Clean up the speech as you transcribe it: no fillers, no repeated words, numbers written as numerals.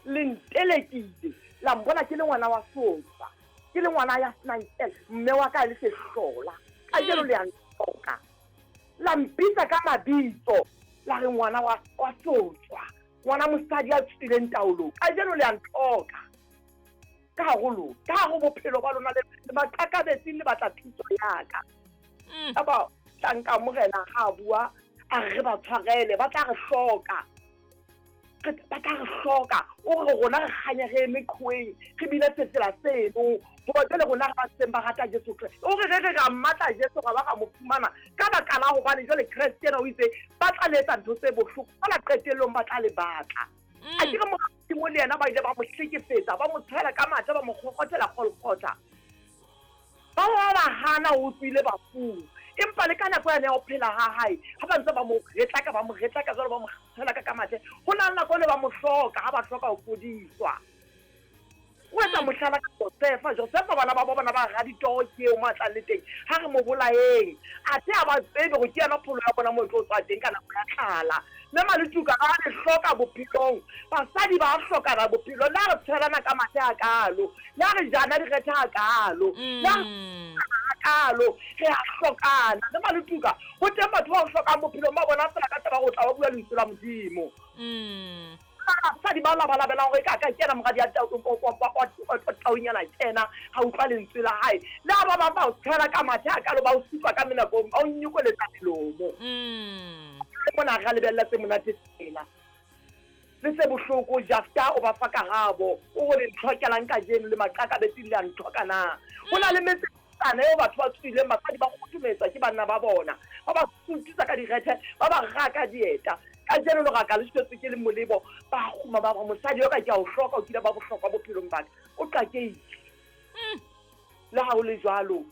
Le ntelekile, la mbona ke le ngwana wa sofa, ke le ngwana ya senang kele, mme wa ka e le sehlola. Kajeno le a ntlhoka. La mpitsa ka mabitso, la re ngwana wa, wa sotswa, ngwana mosadi ya tswileng taolong. Kajeno le a ntlhoka. Ka hare ho lona, ka hare ho bophelo ba lona, le, le maqakabetsing le batla thuso ya ka. Yaba tlanka morena ha a bua, a re re ba tshwarele, ba tla re hloka. Ba tla re hloka. O re rona re kganya re eme qhoweng, re bine sefela seno, hoba jwale rona re ba seng ba rata Jesu Kreste. O re re re ra mmatla Jesu, ra ba ra mo fumana ka baka la hobane jwale Kreste yena o itse ba tla le etsa ntho tse bohloko, fela qetellong ba tla le batla. A ke re Mora Modimo le yena ba ile ba mo hlekefetsa, ba mo tshwela ka mathe, ba mo kgokgothela Golgotha. Ba ba ba hana o tswile bafung. Empa le ka nako yane ya ho phela ha hae, ha ba ntse ba mo retlaka, ba mo retlaka jwalo, ba mo tshwela ka ka mathe, ho na le nako ele ba mo hloka, ha ba hloka ho fodiswa. O etsa mohlala ka Josefa. Josefa bana ba bo bona ba raditoro ke eo mo a tlang le teng. Ha re mo bolayeng. Athe ha ba tsebe hore ke yena pholo ya bona mo e tlo tswa teng ka nako ya tlala. Mme Maletuka ra le hloka bophelong. Basadi ba hlokana bophelong. Le ha re tshwelana ka mathe hakaalo, le ha re jana direthe hakaalo, le ha re hakaalo, re a hlokana. Mme Maletuka, ho teng batho ba o hlokang bophelong ba bona feela ka taba hore o tla ba bua lentswe la Modimo. Basadi ba labalabelang hore eka a ka kena moradi ya taunyana kena, ha utlwa lentswe la hae. Le ha ba bang ba o tshwela ka mathe hakaalo, ba o supa ka menakong, ba o nyokoletsa melomo. Le mona re a lebella tse monate tsela le tse bohloko. Jafta o ba fa karabo, o re le ntlhokelang kajeno le maqakabetsing le a ntlhoka na? Ho na le metse tsana eo batho ba tswileng, basadi ba kgothometswa ke banna ba bona, ba ba sutisa ka direthe, ba ba raka dieta. Kajeno leraka le shwetswe ke le molebo, ba kguma ba re mosadi yo ka ke a o hloka, o kile ba bohlokwa bophelong ba ka, o qakehile. Le ha ho le jwalo,